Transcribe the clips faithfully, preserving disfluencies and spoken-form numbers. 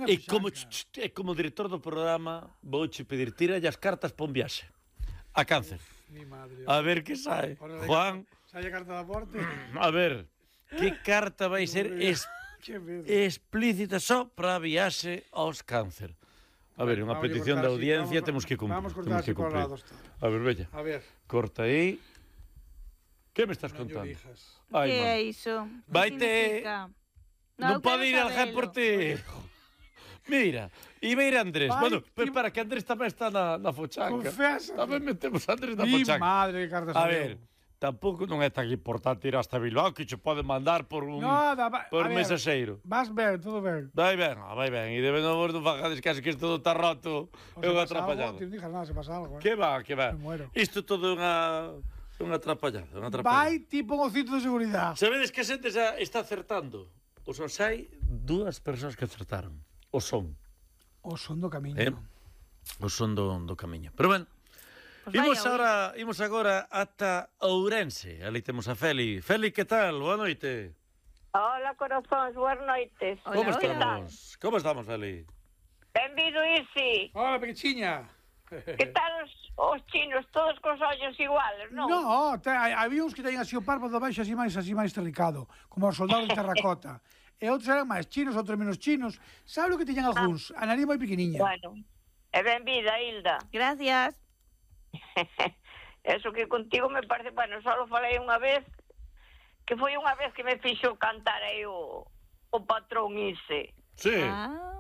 non é E como, fixanca. e como director do programa vouche pedir tiralle as cartas pa un viaxe a Cáncer. Mi madre. A ver que sae. Juan, sai a carta da porte. a ver, que carta vai ser es, explícita só para a viaxe aos Cáncer. A ver, unha petición da audiencia temos que cumprir. Vamos cortar así por lados. A ver, bella. A ver. Corta aí. Que me estás Non contando? Que é iso? Vaite. Non pode ir al gen por ti. Mira, e vai ir Andrés. Vai, Bueno, pero ti- espera, que Andrés tamén está na, na fochanca. Confesa. Tamén metemos a Andrés na Mi fochanca. madre, que cartas A saliu. ver, tampouco non é tan importante ir hasta Bilbao que che pode mandar por un Nada, va- por a ver. mensaxeiro. Vas ben, todo ben. Vai ben, ah, vai ben. E debe non vos non fajades casi que isto todo está roto. O É se unha pasa algo, atrapallada. ti non dixas nada, se pasa algo. eh. Que va, que va. Me muero. Isto todo é unha unha atrapallada, unha atrapallada. Vai tipo un cinto de seguridade. Sabedes que a xente xa está acertando. O son hai dúas persoas que acertaron. O son. O son do camiño. Eh? O son do, do camiño. Pero ben, Pues imos vaya, agora, imos agora ata Ourense. Ali temos a Feli. Feli, que tal? Boa noite. Hola, corazóns, boas noites. Hola, Como hola. estamos? Como estamos, Feli? Benvido, Isi. Hola, pequechiña. Que tal os, os chinos, todos cos ollos iguales, non? No, te, hai- había uns que teñen así o párpado baixo así máis así máis terricado, como os soldados de terracota. E outros eran máis chinos, outros menos chinos. Sabe o que teñen algúns? A nariz moi pequeniña. Bueno, e benvida, Hilda. Gracias. Eso que contigo me parece, bueno, só falei unha vez, que foi unha vez que me fixo cantar aí o, o patrón Ise. Sí. Ah,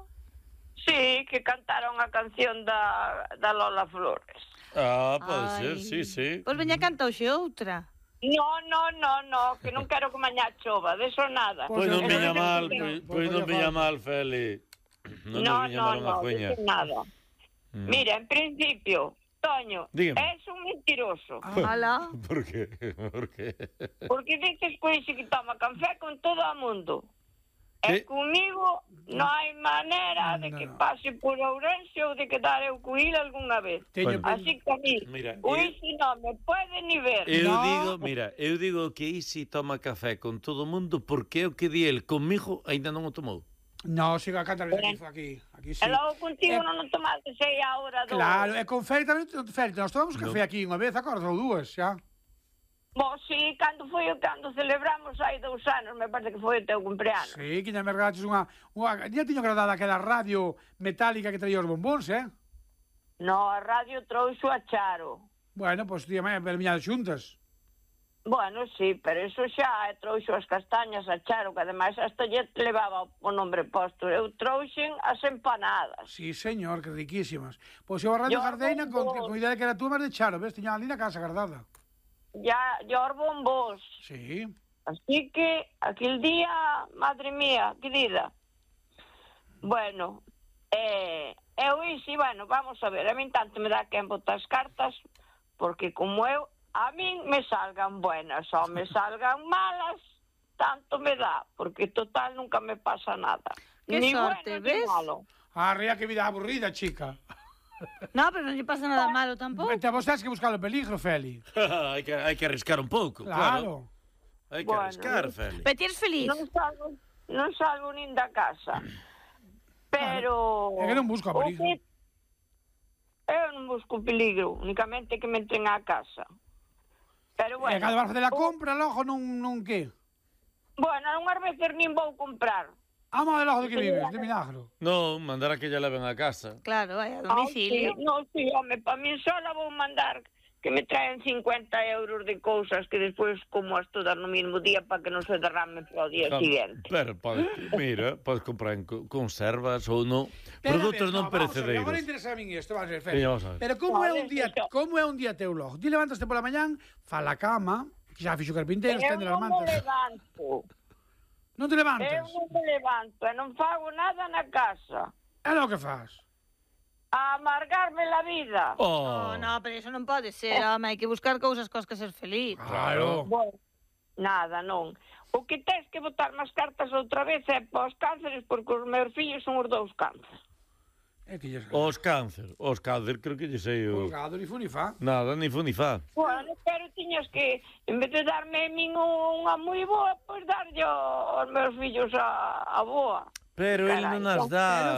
Sí, que cantaron a canción da, da Lola Flores. Ah, pode ai. ser, sí, sí. Pois veña canta hoxe outra. No, no, no, no, que non quero que mañá chova, de eso nada. Pois non Pois viña non- mal, non- pois, non pois non facía viña falta. mal, Feli. Non No, nos viña no, mal unha no, cuña. de eso nada. Mm. Mira, en principio, Toño, Dígame. es un mentiroso. Hola. Por que? Por que? Porque dices que dice que toma café con todo o mundo. ¿Qué? E comigo non hai manera de que No. pase por Ourense ou de quedar eu co il algunha vez. Teño Bueno. Así que a mí, Mira, o eh, Isi non me pode ni ver. Eu No. digo, mira, eu digo que Isi toma café con todo o mundo porque é o que di el comigo aínda non o tomou. No, siga a cantar aquí, aquí, aquí sí. E logo contigo Eh, non o tomaste sei a hora do... Claro, e con Feli tamén, Feli, nós tomamos café aquí unha vez, acordas, ou dúas, xa. Bo, sí, cando foi o cando celebramos hai dous anos, me parece que foi o teu cumpleanos. Sí, que xa me regalaches unha... unha ya tiño agradada aquela radio metálica que traía os bombóns, eh? No, a radio trouxo a Charo. Bueno, pois pues, tía, vermiñades xuntas. Bueno, sí, pero eso xa eh, trouxo as castañas a Charo, que ademais hasta lle levaba o nombre posto. Eu trouxen as empanadas. Sí, señor, que riquísimas. Pois eu a Radio Yo Gardeina con, bombos. con idea de que era tú máis de Charo, ves? Tiña ali na casa guardada. Ya, yo bombos. Sí. Así que, aquel día, madre mía, querida. Bueno, eh, eu isi, bueno, vamos a ver, a min tanto me dá quen botar as cartas, porque como eu, a min me salgan buenas ou me salgan malas, tanto me dá, porque total nunca me pasa nada. Que ni sorte, bueno, ni ves? malo. Ah, rea que vida aburrida, chica. No, pero non lle pasa nada malo tampouco. Te vos tens que buscar o peligro, Feli. hai que hai que arriscar un pouco, claro. Claro. Hai que Bueno, arriscar, Feli. Pero ti eres feliz. Non salgo, non salgo nin da casa. Pero... É que non busco o peligro. que- Eu non busco peligro, únicamente que me entren á casa. Pero Bueno, bueno... e cando vas fazer a o- compra, logo non, non que? Bueno, unhas veces nin vou comprar. Amo de logo de que vives, de milagro. Non, mandar a que lla leven a casa. Claro, vai a Ah, domicilio. sí, non, sí, home, pa mí sola vou mandar que me traen cincuenta euros de cousas que despois como as todas no mismo día para que non se derramen para o día seguinte. Pero, podes, mira, podes comprar en co- conservas ou non. Pero, Produtos a ver, non no, vamos a ver, perecedeiros. Agora interesa a min isto, vamos a ver, Feli. Sí, vamos a ver. Pero como é Vale, un día, eso. como é un día teu logo? Ti levantaste pola mañán, fa a cama, que xa fixo carpinteiro, Eu estende as non me mantas. levanto. Non te Eu levantas? non me levanto e non fago nada na casa. É lo que faz. A amargarme la vida. Oh, Oh, no, pero eso non pode ser, home, hai que buscar cousas cos que ser feliz. claro. Bueno, nada, non. O que tens que botar máis cartas outra vez é para os cánceres, porque os meus fillos son os dous cánceres. É que lles... Os cáncer, os cáncer, creo que lle sei o... Os gado, ni fu ni fa. Nada, ni fu ni fa. Bueno, pero tiñas que, en vez de darme a min unha moi boa, pois darlle aos meus fillos a, a boa. Pero el Carai, non as dá,